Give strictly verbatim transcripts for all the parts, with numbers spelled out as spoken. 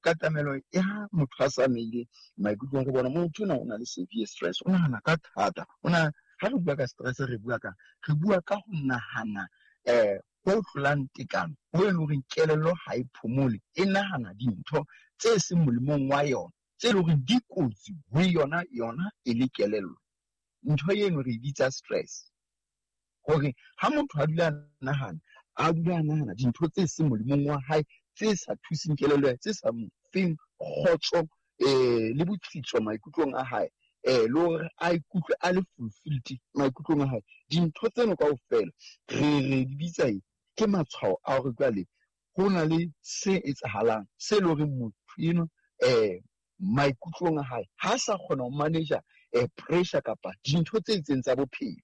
Katamelo ya motho a sa meile maikutlong re bona motho ona o na le severe stress, o nahana ka thata. O na ha re bua ka stress re bua ka re bua ka ho nahana eh ho tlolang tekano, ho e leng hore kelello ha e phomole, e nahana dintho tse seng molemong wa yona, tse leng hore di kotsi ho yona yona e le kelello. Ntho eno re e bitsa stress. Hore ha motho a dula a nahana, a dula a nahana dintho tse seng molemong wa hae, tse sa thuseng kelello ya hae, tse sa mo feng kgotso eh le botsitso maikutlong a hae, eh le hore a ikutlwe a le fulfilled maikutlong a hae. Dintho tseno kaofela re re di bitsa eng? Ke matshwao a hore jwale ho na le se etsahalang se leng hore motho eno eh maikutlong a hae ha sa kgona ho manage eh pressure kapa dintho tse itseng tsa bophelo.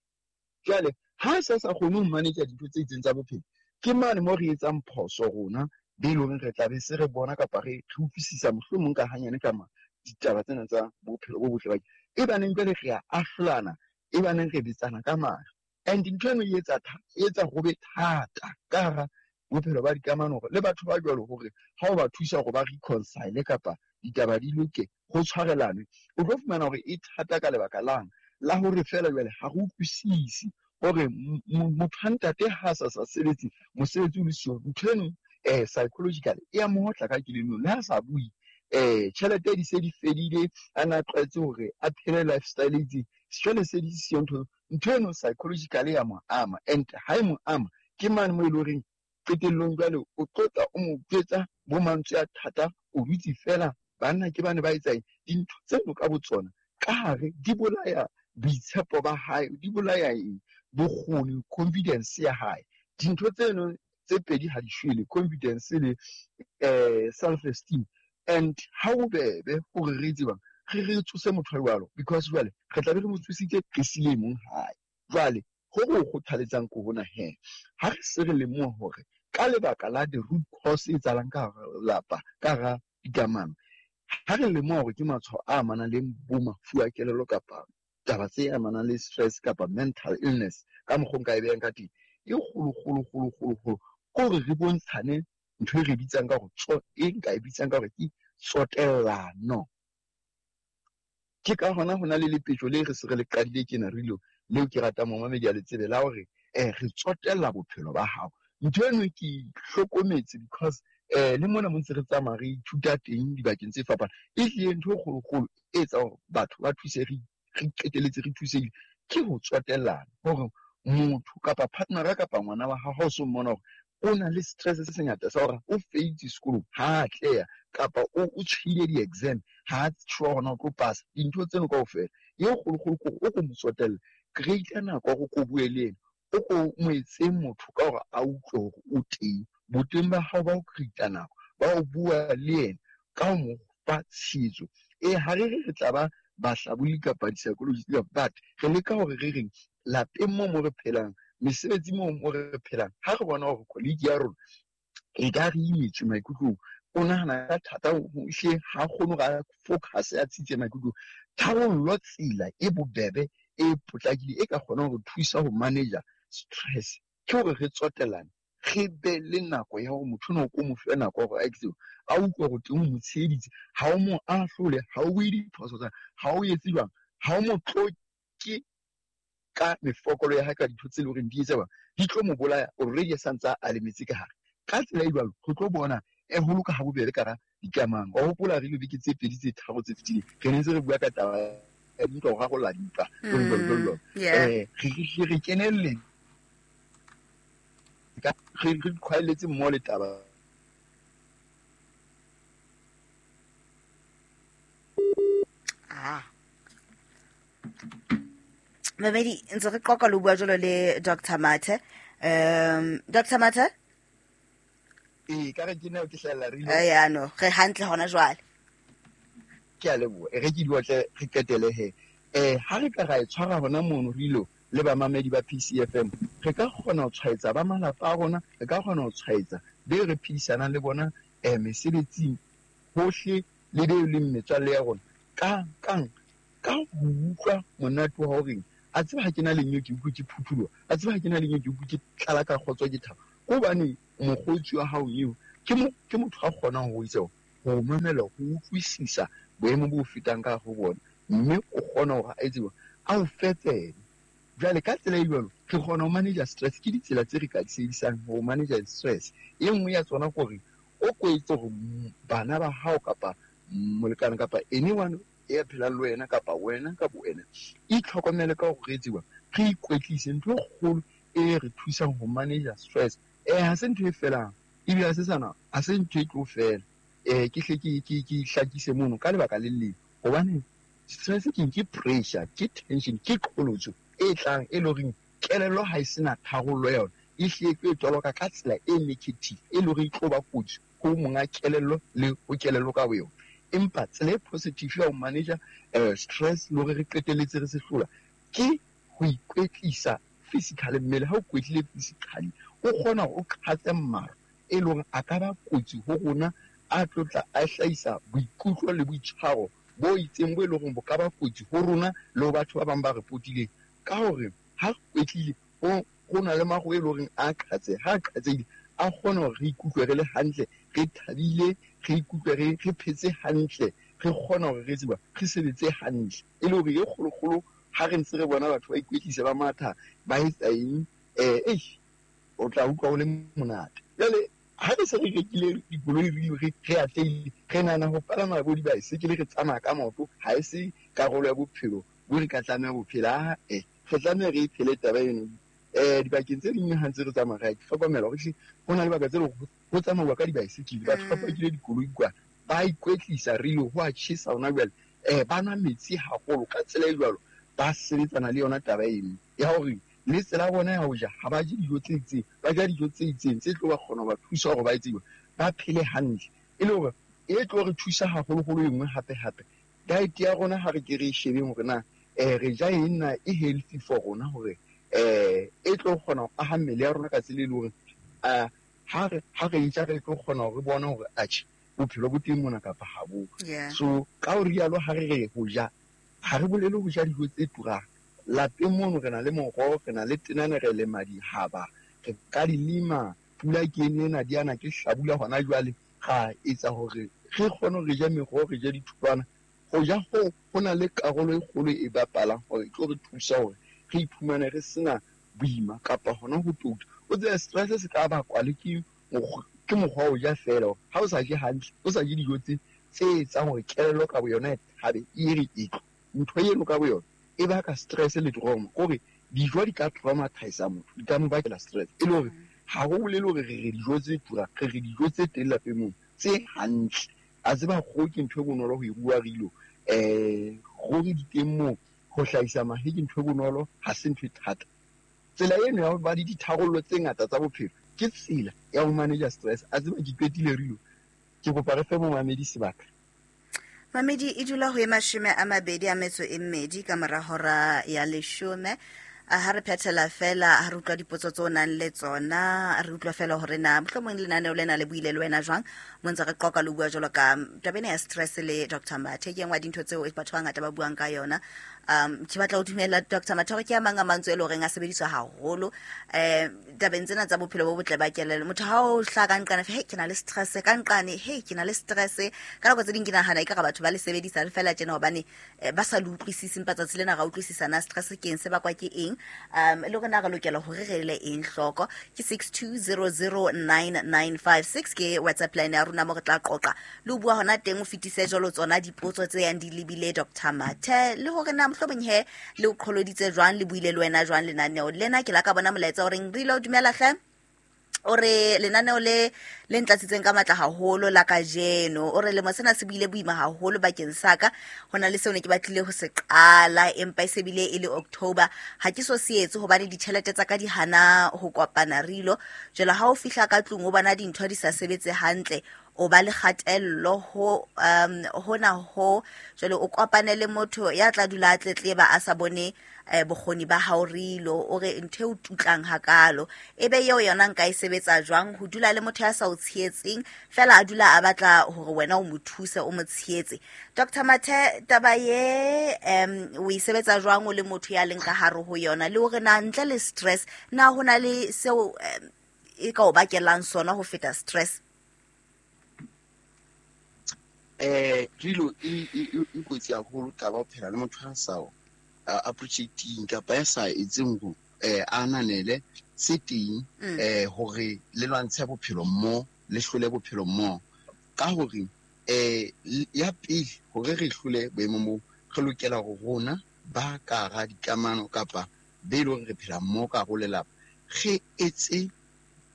Jwale ha sa sa kgone ho manage dintho tse itseng tsa bophelo, ke mane mo re etsang phoso rona be leng hore re tla be se re bona kapa re re utlwisisa mohlomong ka hanyane ka ma ditaba tsena tsa bophelo bo botle ba e baneng jwale re a ahlolana, e baneng re bitsana ka mahlo. And ntho eno e etsa e etsa ho be thata ka hara bophelo ba dikamano hore le batho ba jwalo hore ha o ba thusa hore ba reconcile kapa ditaba di loke, ho tshwarelane, o tlo fumana hore e thata ka lebaka lang la hore feela jwale ha re utlwisise hore motho ha ntate ha sa sa sebetse mosebetsi o le siyo, ntho eno eh psychologically e a mo otla ka kelellong. Le ha sa bue eh tjhelete di se di fedile, a na tlwaetse hore a phele lifestyle e itseng, jwale se di siyo ntho ntho eno psychologically ya mo ama. And ha e mo ama ke mane mo e leng horeng qetellong jwale o tlotla o mo jwetsa bo mantswe a thata, o dutse fela banna ke bane ba etsang dintho tseno ka botsona ka hare di bolaya boitshepo ba hae, di bolaya eng, bokgoni, confidence ya hae. Dintho tseno tse pedi ha di shwele, confidence le eh self esteem. And ha o bebe hore re tsebang re re tsose motho jwalo, because jwale re tla be re mo tsositse re sile mong hae. Jwale ho re kgothaletsang ko hona he, ha re se re lemoha hore ka lebaka la the root cause e etsahalang ka hara lelapa, ka hara dikamano, ha re lemoha hore ke matshwao a amanang le bo mafu a kelello kapa taba tse amanang le stress kapa mental illness ka mokgwa o nka e behang ka teng, e kgolo, kgolo, kgolo, kgolo, kgolo, ke hore re bontshane ntho e re bitsang ka hore e nka e bitsang ka hore ke tsotellano. Ke ka hona ho na le lepetjo le re se re le qadile tjena re ilo leo ke ratang momamedi a le tsebe la hore eh re tsotella bophelo ba hao. Ntho eno ke hlokometse because eh le mona mo ntse re tsamaya re ithuta teng dibakeng tse fapaneng, e hlile ntho e kgolokgolo e etsang hore batho ba thuse re re qeteletse re thusehile ke ho tsotellana. Hore motho kapa partner kapa ngwana wa hao ha o so mmona hore o na le stress se sengata sa hore o failed sekolong, ha atleha kapa o o tshwile di-exam, ha a sure hore na o tlo pasa, dintho tseno kaofela e kgolokgolo ke hore o ko mo tsotelle, create nako ya hore o ko bue le ena, o ko mo etse motho ka hore a utlwe hore o teng. Boteng ba hao ba ho create nako ba ho bua le yena ka ho mo fa tshehetso. E ha re re re tla ba bahlaboli kapa di-psychologist, but re leka hore re reng lapeng moo mo re phelang, mesebetsi moo mo re phelang, ha re bona hore colleague ya rona e ka re imetswe maikutlong, o nahana ka thata, ehlile ha kgone hore a focus a tsitse maikutlong, tharollo tsela e bobebe e potlakileng e ka kgonang ho thusa ho manage stress ke hore re tsotellane, re be le nako ya hore motho ona o ko mo fe nako hore a etse, a utlwe hore teng o mo tsheheditse, ha o mo ahlole, ha o bue diphoso tsa, ha o etse jwang, ha o mo tloke ka mefokolo ya hae ka dintho tse leng hore di etsa jwang, di tlo mo bolaya already a santse a lemetse ka hare. Ka tsela e jwalo re tlo bona e holoka ha bobebe ka hara dikamano. Wa hopola re ile beke tse pedi tse tharo tse fetileng re ne ntse re bua ka taba ya dintwa, ho rarolla dintwa, jwalo, jwalo, jwalo, jwalo. Eh re re kenelle ka re re qhwaeletse mmoho le taba. Ah. Mamedi ntse re qoqa le bua jalo le Doctor Mathe. Um Doctor Mathe? Eh ka re ke nna ke hlahella re ile. Eh ya no, re hantle hona jwale. Ke a leboha. E re ke diotle re qetele he. Eh ha re ka ra e tshwara hona mono re ilo le bamamedi ba P C F M, re ka kgona ho tshwaetsa ba malapa a rona, re ka kgona ho tshwaetsa be re phedisanang le bona eh mesebetsing hohle le be leng metswalle ya rona. Ka kang ka ho utlwa monate wa hore a tseba ha ke na le nyo ke utlwe ke phuthuloha, a tseba ha ke na le nyo ke utlwe ke tlala ka kgotso ke thabo. Hobane mokgotsi wa hao eo ke mo, ke motho a kgonang ho itse hore ho mamela, ho utlwisisa boemo bo fetang ka ho bona, mme o kgona hore a etse a o fe tsebe. Jwale ka tsela e jwalo re kgona ho manage stress. Ke ditsela tse re ka di sebedisang ho manage stress. E nngwe ya tsona kore o kwetse hore bana ba hao kapa molekane kapa anyone ya phelang le wena kapa wena ka bo wena, itlhokomele ka hore re tseba re ikwetlise. Ntho e kgolo e re thusang ho manage stress, eh ha se ntho e felang, ebile ha se sana, ha se ntho e tlo fela. eh ke hle ke ke ke hlakise mono ka lebaka le leng, hobane stress ke ke pressure, ke tension, ke qholotso e tlang e leng horeng kelello ha e sena tharollo ya yona, e hle e tlo e toloka ka tsela e negative, e leng hore e tlo ba kotsi ho monga kelello le ho kelello ka boyona. Empa tsela e positive ya ho manage uh, stress le hore re qetelletse re se hlola ke ho ikwetlisa physically. Mmele ha o kwetlile physically, o kgona hore o qhatse maro e leng hore a ka ba kotsi ho rona, a tlo tla a hlahisa boikutlo le boitshwaro bo itseng bo e leng hore bo ka ba kotsi ho rona le ho batho ba bang ba re potileng. Ka hore ha re kwetlile, ho ho na le maro e leng hore a qhatse, ha a qhatsehile a kgona hore re ikutlwe re le hantle, re thabile, re ikutlwe re re phetse hantle, re kgona hore re tseba re sebetse hantle. E le hore e kgolokgolo ha re ntse re bona batho ba ikwetlisa, ba matha, ba etsa eng, eh eish, o tla utlwa o le monate. Jwale ha re se re rekile dikoloi, re re re atlehile, re nahana ho palama bo dibaesekele, re tsamaya ka maoto, ha e se karolo ya bophelo bo re ka tlameha ho phela. Eh re tlameha re e phele taba eno. eh dibakeng tse ding ha ntse re tsamaya, re a hlokomela hore ehlile ho na le baka tse leng hore ho tsamauwa ka dibaesekele, batho ba pakile dikoloi kwa, ba ikwetlisa re ho a tjhesa hona jwale, eh ba nwa metsi haholo. Ka tsela e jwalo ba sebetsana le yona taba eno ya hore le tsela ya bona ya ho ja, ha ba je dijo tse itseng, ba ja dijo tse itseng tse tlo ba kgona ho ba thusa hore ba etse ba phele hantle, e le hore e tlo re thusa haholoholo. E nngwe hape hape, diet ya rona ha re ke re e shebeng hore na eh re ja eng, na e healthy for rona, hore eh e tlo kgona ho aha mmele ya rona ka tsela e leng hore ah ha re ha re e ja, re tlo kgona hore re bone hore atjhe, bophelo bo teng mona kapa ha bo. Yeah. So ka ho rialo, ha re re ho ja, ha re bolele ho ja dijo tse turang. Lapeng mono re na le moroho, re na le tenane, re lema dihaba, re ka di lema. Pula ke ena, di ana ke hlabula hona jwale, ra etsa hore re kgone hore re je meroho, re je ditholwana. Ho ja ho ho na le karolo e kgolo e bapalang hore e tlo re thusa hore re iphumane re sena boima kapa hona ho touta. O tsebe stress se ka bakwa le ke mokgwa, ke mokgwa wa ho ja feela, hore ha o sa je hantle, o sa je dijo tse tse etsang hore kelello ka boyona e thabe, e re e tlo ntho eno ka boyona e baka stress le trauma. Kore dijo di ka traumatise motho, di ka mo bakela stress. E le hore ha ho bolele hore re re dijo tse turang, re re dijo tse teng lapeng mono tse hantle. A tseba kgoho ke ntho e bonolo ho e rua, rilo eh kgoho di teng moo, ho hlahisa mahe ke ntho e bonolo, ha se ntho e thata. Tsela eno ya ho ba le ditharollo tse ngata tsa bophelo ke tsela ya ho manage stress. A tseba ke qetile rilo, ke kopa re fe momamedi sebaka. Mamedi e dula ho e mashome a mabedi a metso e mmedi ka mora hora ya leshome. A ha re phethela fela, ha re utlwa dipotso tse o nang le tsona, re utlwa fela hore na mohlomong lenaneo lena le buile le wena jwang, mo ntse re qoqa le bua jwalo ka taba ena ya stress le Doctor Mathe. Ke e nngwe ya dintho tseo batho ba bangata ba buang ka yona. um ke batla ho dumela Doctor Mathe hore ke a mang a mantswe e le horeng a sebediswa haholo um tabeng tsena tsa bophelo bo botle ba kelello. Motho ha o hlaha ka nqane, hey, ke na le stress, ka nqane, hey, ke na le stress. Ka nako tse ding ke nahana ekare batho ba le sebedisa fela tjena hobane eh, ba sa le utlwisise, empa tsatsi lena ra utlwisisa na stress ke eng, se bakwa ke eng, um le hore na re lokela hore re ele eng hloko. Ke six two zero zero nine nine five six ke WhatsApp line ya rona mo re tla qoqa le ho bua hona teng. O fetise jwalo tsona dipotso tse yang di lebile Doctor Mathe, le hore na mohlomong he le o qholoditse jwang, le buile le wena jwang lenaneo lena. Ke la ka bona molaetsa o reng re ile o dumela hle, o re lenaneo le le ntlatsitseng ka matla haholo la kajeno. O re lemo sena se buile boima haholo bakeng sa ka, ho na le seo ne ke batlile ho se qala, empa e se bile e le October ha ke so se etse hobane ditjhelete tsa ka di hana ho kopana rilo. Jwale ha o fihla ka tlung o bona dintho di sa sebetse hantle, o ba le kgatello ho um hona ho. Jwale o kopane le motho ya tla dula a tletleba a sa bone eh, bokgoni ba hao rilo. O re ntho e o tutlang hakalo ebe eo yona nka e sebetsa jwang, ho dula le motho ya sa o tshehetseng fela, a dula a batla hore wena o mo thuse, o mo tshehetse. Doctor Mathe, taba ye um o e sebetsa jwang o le motho ya leng ka hare ho yona, le hore na ntle le stress na ho na le seo um, e ka o bakelang sona ho feta stress? Eh rilo e e kotsi haholo taba ho phela le motho a sa appreciating kapa ya sa etseng go eh ananele se teng eh hore le lwantshe bophelo mo le hlole bophelo mo ka hore eh ya pele hore re hlole boemo mo re lokela go rona ba ka ga dikamano kapa be le re phela mo ka go lelapa re etse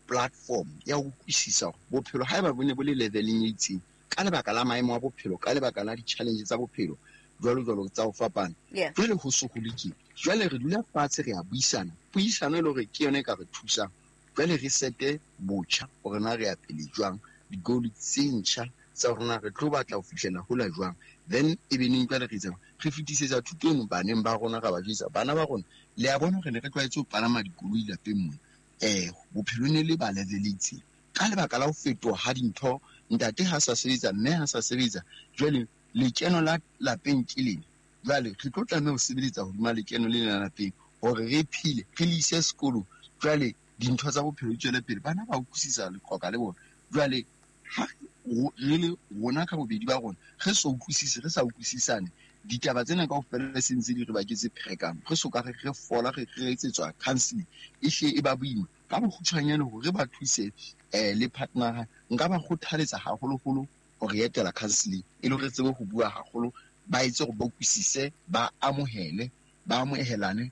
platform ya go utlwisisa bophelo haeba bo ne bo le leveleng e itseng ka lebaka la maemo a bophelo ka lebaka la di-challenge tsa bophelo jwalo jwalo tsa ho fapana jwale ho so ho le jwale re dula fatshe re a buisana puisano e le hore ke yona e ka re thusang jwale re sete botjha hore na re ya pele jwang di-goal tse ntjha tsa rona re tlo batla ho fihlela hola jwang then e be neng jwale re etsang re fetisetsa thuto eno baneng ba rona ra ba jwetsa bana ba rona le a bona hore ne re tlwaetse ho palama dikoloi lapeng mona eh bophelo ne le ba level e itseng ka lebaka la ho fetoha ha dintho ntate ha sa sebetsa mme ha sa sebetsa jwale lekeno la lapeng ke lena jwale re tlo tlameha ho sebeletsa hodima lekeno le lena lapeng hore re phele re le ise sekolong jwale dintho tsa bophelo di tswele pele bana ba utlwisisa leqoka le bona jwale ha re le rona ka bobedi ba rona re so utlwisise re sa utlwisisane ditaba tsena kaofela se ntse di re baketse pherekano re so ka re re fola re re etsetswa counseling e hle e ba boima ka bokgutshwanyane hore ba thuse eh le partner nka ba kgothaletsa haholoholo hore etela counseling e le hore tsebe ho bua haholo ba etse hore ba utlwisise ba amohele ba amohelane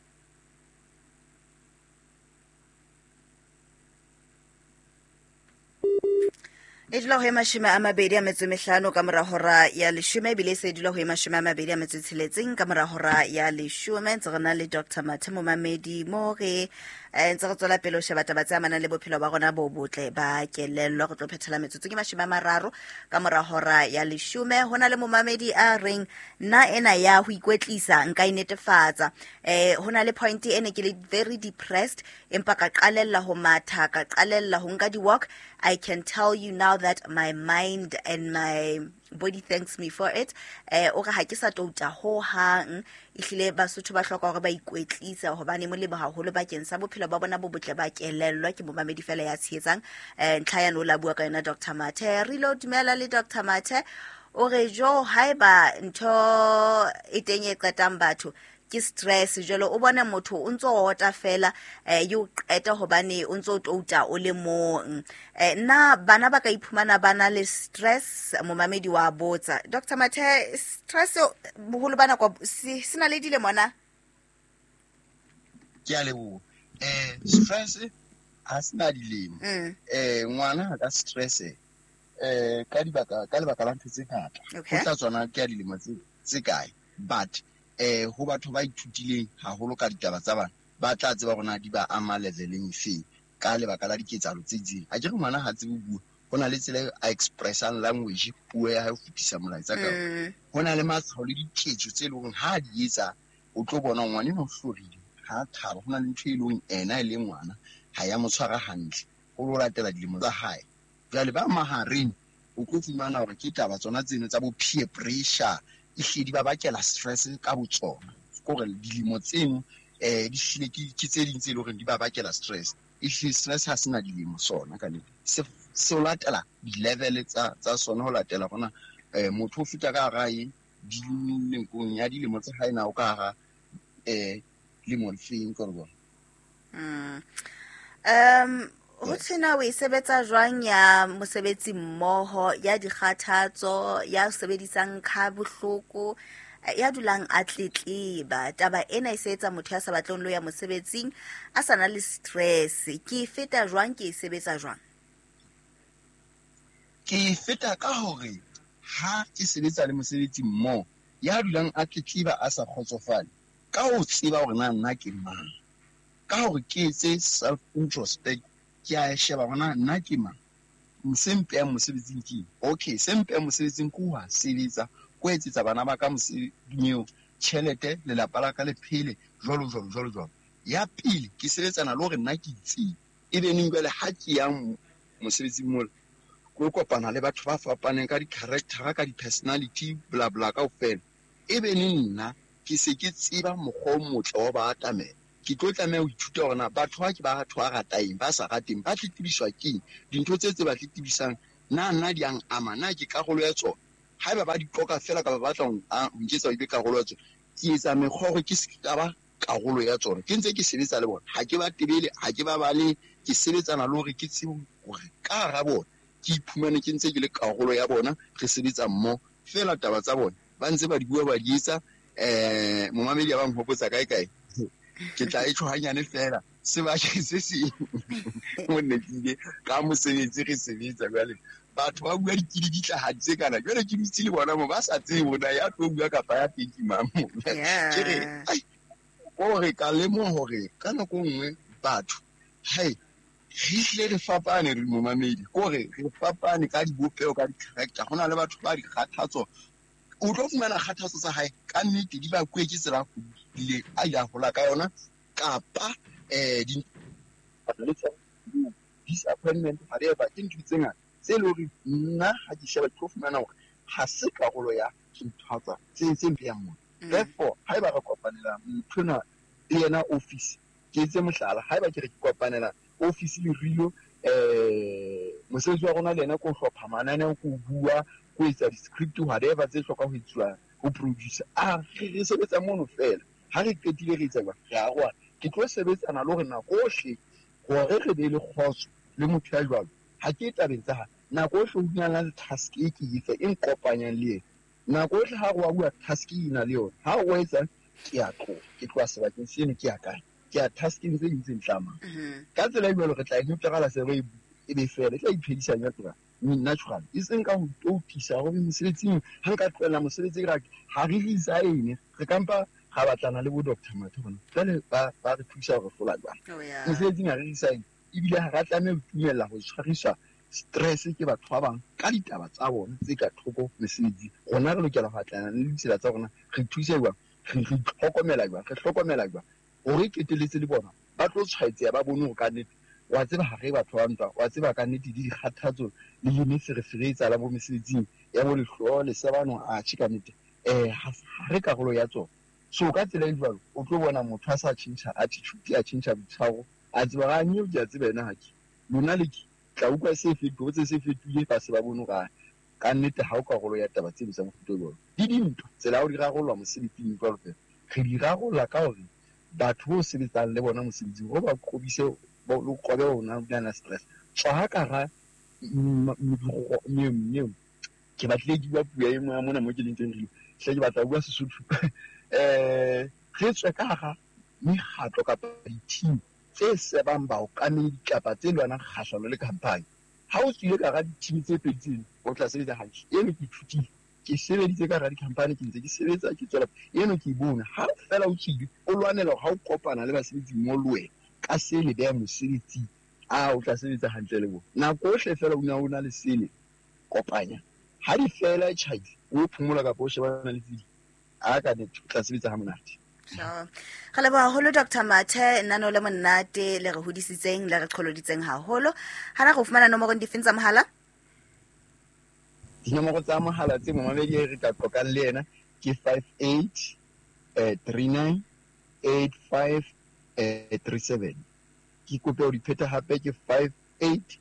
E dula ho e mashome a mabedi a metso e mehlano ka mora hora ya leshome ebile e se dula ho e mashome a mabedi a metso e tsheletseng ka mora hora ya leshome ntse re na le Doctor Mathe Momamedi mo re ntse re tswela pele ho sheba taba tse amanang le bophelo ba rona bo botle ba kelello re tlo phethela metsotso ke mashome a mararo ka mora hora ya leshome ho na le momamedi a reng nna ena ya ho ikwetlisa nka e netefatsa eh ho na le point e ne ke le very depressed empa ka qalella ho matha ka qalella ho nka di-walk. I can tell you now that my mind and my body thanks me for it. Eh o re ha ke sa touta ho hang ehlile Basotho ba hloka hore ba ikwetlisa hobane molemo haholo bakeng sa bophelo ba bona bo botle ba kelello ke momamedi fela ya tshehetsang eh ntlha ya no la bua ka yona Doctor Mathe re lo dumela le Doctor Mathe o re jo haeba ntho e teng e qetang batho ke stress jalo o bona motho o ntso ota fela eh yo qeta hobane o ntso touta o le mong eh nna bana ba ka iphumana bana le stress momamedi wa botsa Doctor Mathe stress boholo bana kwa sena le dile mona ke a leboha eh stress ha sena dilemo eh ngwana ka stress eh ka dibaka ka lebaka la ntho tse ngata ho tla tsona ke a dilemo tse tse kae but eh ho batho ba ithutileng haholo ka ditaba tsa bana ba tla tseba hore na di ba ama leveleng efe ka lebaka la diketsahalo tse itseng a ke re ngwana ha tsebe bua ho na le tsela a expressang language puo ya hae ho fetisa molaetsa ka ho na le matshwao le diketso tse leng hore ha di etsa o tlo bona ngwana eno o hlorile ha thaba ho na le ntho e leng ena e le ngwana ha ya mo tshwara hantle ho lo latela dilemo tsa hae jwale ba mahareng o tlo fumana hore ke taba tsona tseno tsa bo peer pressure ehlile di ba bakela stress ka botsona kore dilemo tseno eh di hlile ke tse ding tse leng hore di ba bakela stress ehlile stress ha sena dilemo sona ka nnete se se latela di-level tsa tsa sona ho latela hona eh motho o feta ka hara eng dilengkong ya dilemo tsa hae na o ka hara eh lemo lefeng ka bona mm um ho tshena o e sebetsa jwang ya mosebetsi mmoho ya dikgathatso ya sebedisang kha bohloko ya dulang a tletleba taba ena e se etsa motho ya sa batleng lo ya mosebetsing a sa na le stress ke feta jwang ke e sebetsa jwang ke feta ka hore ha ke sebetsa le mosebetsi mmoho ya dulang a tletleba a sa kgotsofale ka ho tseba hore na nna ke mang ka hore ke etse self introspect ke a sheba hore na nna ke mang se mpehang mosebetsing ke okay se mpehang mosebetsing ke ho sebetsa ko etsetsa bana ba ka mosebetsing tjhelete lelapa la ka le phele jwalo jwalo jwalo jwalo ya pele ke sebetsana le hore nna ke itseng ebe neng jwale ha ke yang mosebetsing mola ko kopana le batho ba fapaneng ka di-character ka di-personality bla bla kaofela ebe neng nna ke se ke tseba mokgwa o motle wa ba atamela ke tlo tlameha ho ithuta hore na batho ba ke ba batho ba ratang ba sa rateng ba tletlebiswa keng dintho tse tse ba tletlebisang na nna di ang ama na ke karolo ya tsona Haeba ba di qoka fela ka ba batla ho nketsa ho be karolo ya tsona, ke etsa mekgwa hore ke se ka ba karolo ya tsona. Ke ntse ke sebetsa le bona, ha ke ba tebele, ha ke ba bale, ke sebetsana le hore ke tsebe hore ka hara bona ke iphumane ke ntse ke le karolo ya bona, re sebetsa mmoho. Fela taba tsa bona ba ntse ba di bua ba di etsa. Eh momamedi ya ba nhopotsa kae kae, ke tla e tjho hanyane fela sebakeng se seng mo nne ke ile ka mosebetsi re sebetsa. Jwale batho ba bua dikili di tla tse kana, jwale ke dutse le bona mo ba sa tsebe bona ya tlo bua kapa ya teng ke mang mo. Ke re ai hore ka lemoha hore ka nako nngwe batho hai re hle re fapane re momamedi, kore re fapane ka dibopeho, ka di-character. Ho na le batho ba dikgathatso, o tlo fumana kgathatso tsa hae ka nnete di ba kuwe ke tsela a a ile a hola ka yona, kapa eh di disappointment whatever, ke ntho tse ngata tse leng hore nna ha ke sheba ke tlo fumana hore ha se karolo ya dintho tsa tse tse mpeyang mona. Therefore haeba re kopanela motho enwa le yena office, ke etse mohlala, haeba ke re ke kopanela office le Rilo, eh mosebetsi wa rona le yena ko hlopha mananeo, ko bua, ko etsa di-script whatever tse hlokang ho etsuwa ho producer, a re sebetsa mono fela. Ha re qetile re etsa jwang, re aroha. Ke tlo sebetsana le hore nako ohle hore re be le kgotso le motho ya jwalo, ha ke tabeng tsa hae. Nako ohle ho na le task e ke e fe e nkopanyang le yena. Nako ohle ha re wa bua task e na le yona, ha o etsa ke a tloha, ke tloha sebakeng seno ke ya kae, ke ya taskeng tse ding tse ntlamang. Ka tsela e jwalo re tla e neutrala se re e be fela, e tla iphedisa natural, natural. E seng ka ho toutisa hore mosebetsing ha nka tlohela mosebetsi ra ha re resign, re kampa ra batlana le bo Doctor Mathe hona jwale ba ba re thusa hore hlola jwang mosebetsing. Ha re resign ebile ha ra tlameha ho tumella ho tshwariswa stress ke batho ba bang ka ditaba tsa bona tse ka thoko mesebetsing. Rona re lokela ho atlana le ditsela tsa rona, re thuse jwang, re re itlhokomela jwang, re hlokomela jwang hore keteletse le bona ba tlo tshwaetseha, ba bone hore ka nnete wa tseba ha re batho ba ntwa, wa tseba ka nnete di dikgathatso le dimeferefere e tsalang bo mesebetsing ya bo lehloho le sebano, a tjhe ka nnete eh ha re karolo ya tsona. So ka tsela e jwalo o tlo bona motho a sa tjhentjha attitude, a tjhentjha boitshwaro, a tseba ha nyeo ke a tseba ena ha ke lona le ke tla utlwa se fetohotse se fetohile, ba se ba bone hore ka nnete ha o karolo ya taba tseno tsa mofuta o jwalo. Di dintwa tsela ya ho di rarollwa mosebetsing jwalo fela, re di rarolla ka hore batho bo sebetsang le bona mosebetsing ho ba qobise lo qobe ona na stress. Tswa ha ka ra neo ke batlile ke bua puo e nngwe mona mo ke leng teng re hle ke batla ho bua Sesotho. Eh re tswe ka hara mekgatlo kapa di-team tse sebang baokamedi kapa tse lwanang kgahlano le company. Ha o tswile ka hara di-team tse pedi tseno, o tla sebetsa hantle. Eno ke ithutile, ke sebeditse ka hara di-company, ke ntse ke sebetsa, ke tswela eno ke e bone. Ha fela o tswile o lwanela hore ha o kopana le basebetsi mmoho le wena ka se le beha mosebetsing, a o tla sebetsa hantle le bona. Nako ohle fela o na o na le sele kopanya, ha di fela e tjhaile o phomola kapa o shebana le tse ding, a ka nnete o tla sebetsa ha monate. Sure. Re leboha haholo Doctor Mathe, nano le monate le re hodisitseng le re qholoditseng haholo. Hana go fumana nomoro difeng tsa mohala? Dinomoro tsa mohala tse momamedi e re ka qoqang le yena ke five eight three nine eight five three seven. Ke kope ho di pheta hape ke five eight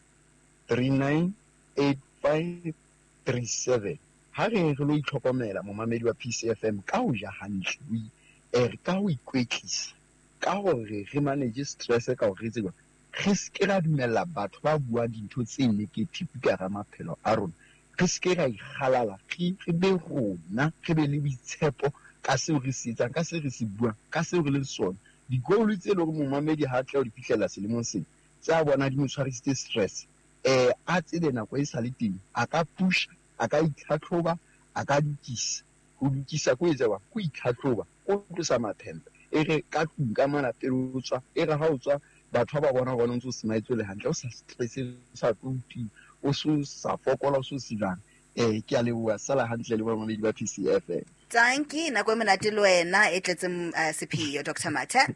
three nine eight five three seven. Ha re re lo itlhokomela momamedi wa P C F M ka ho ja hantle, eh ka ho ikwetlisa, ka hore re manage stress, ka hore re tsebe re se ke ra dumella batho ba buang dintho tse negative ka hara maphelo a rona, re se ke ra ikgalala, re re be rona, re be le boitshepo ka seo re se etsang, ka seo re se buang, ka seo re leng sona. Di-goal tse leng hore momamedi ha tla ho di fihlela selemong sena, tse a bona di mo tshwarisitse stress, eh a tsebe nako e sa le teng, a ka push, a ka itlhatlhoba, a ka lokisa. Ho lokisa ko etsa jwang? Ko itlhatlhoba, ko tlosa maphempe. E re ka tlung ka mona pele o tswa, e re ha o tswa batho ba ba bona hore o ntse o smile le hantle, o sa stress, o sa tlouti, o so sa fokola, o so silana. Eh ke a leboha, sala hantle le bamamedi ba P C F M. Tanki, nako e monate le wena e tletseng sepheo Doctor Mathe.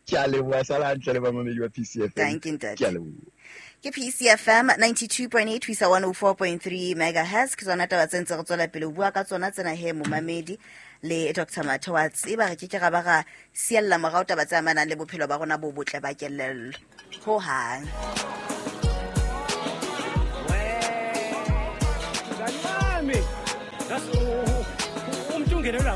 Ke a leboha, sala hantle le bamamedi ba P C F M. Thank you, ntate. Ke a leboha. Ke P C F M ninety-two point eight ho isa one oh four point three megahertz. Ke tsona taba tse ntse re tswela pele ho bua ka tsona tsena he momamedi le Doctor Mathe wa tseba re ke ke ra ba ra siella morao taba tse amanang le bophelo ba rona bo botle ba kelello ho hang. Mhlawumbe ngasi umntu ungenelwa.